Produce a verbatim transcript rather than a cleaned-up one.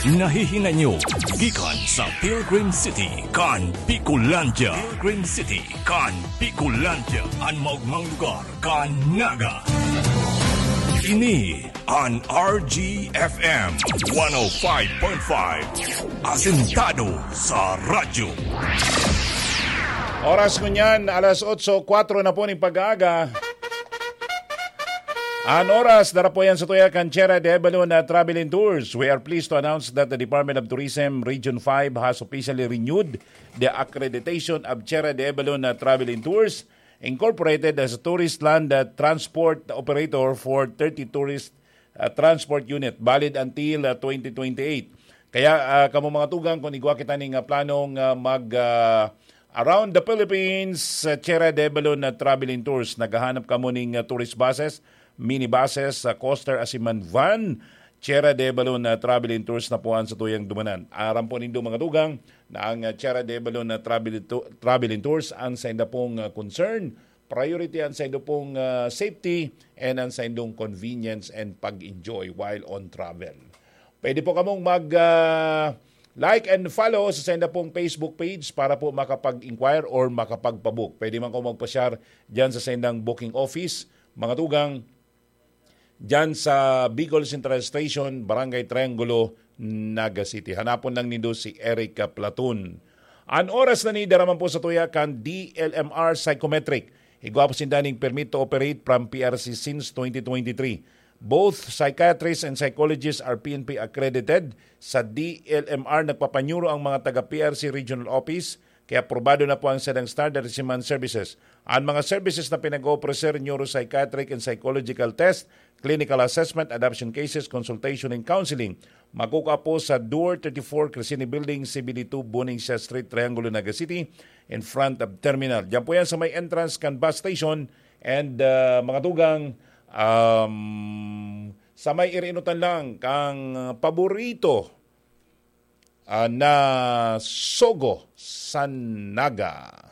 Nahihinay nyo gikan sa Pilgrim City kan Bicolandia. Pilgrim City kan Bicolandia, an maogmang lugar kan Naga. Ini an R G F M one oh five point five, asentado sa radyo. Oras ngunyan, alas otso kwatro na po ning pag-aaga. An oras, dara po yan sa tuya kan Chera de Balon na Travel and Tours. We are pleased to announce that the Department of Tourism Region five has officially renewed the accreditation of Chera de Balon na Travel and Tours Incorporated as a tourist land uh, transport operator for thirty tourist uh, transport unit, valid until uh, twenty twenty-eight. Kaya uh, kamo mga tugang, kung igwa kita ning uh, planong uh, mag uh, around the Philippines, uh, Chera de Balon na Traveling Tours, naghahanap kamo ning uh, tourist buses, minibuses, uh, coaster, asiman van, Chera de Balon na Traveling Tours na po ang sa tuyang dumanan. Aram po nindo mga tugang na ang uh, Chera de Balon na Travel, Traveling Tours ang sa inda pong uh, concern, priority ang sa inda pong uh, safety, and ang sa indong convenience and pag-enjoy while on travel. Pwede po kamong mag uh, like and follow sa senda pong Facebook page para po makapag-inquire or makapagpabook. Pwede man ko magpasyar dyan sa sendang booking office, mga tugang, dyan sa Bicol Central Station, Barangay Triangulo, Naga City. Hanapon lang nindo si Eric Platon. An oras na ni daraman po sa tuya kan D L M R Psychometric. Igwa po sinda ning permit to operate from P R C since twenty twenty-three. Both psychiatrists and psychologists are P N P accredited. Sa D L M R, nagpapanyuro ang mga taga P R C Regional Office, kaya aprobado na po ang sadang standard siman services. Ang mga services na pinag-oofrecer, neuropsychiatric and psychological test, clinical assessment, adoption cases, consultation and counseling, makukuha po sa Door thirty-four, Crescini Building, C B D two, Buning Siya Street, Triangulo, Naga City, in front of terminal. Diyan po yan sa may entrance kan bus station. And uh, mga tugang, um, sa may irinutan lang kang paborito uh, na Sogo sa Naga.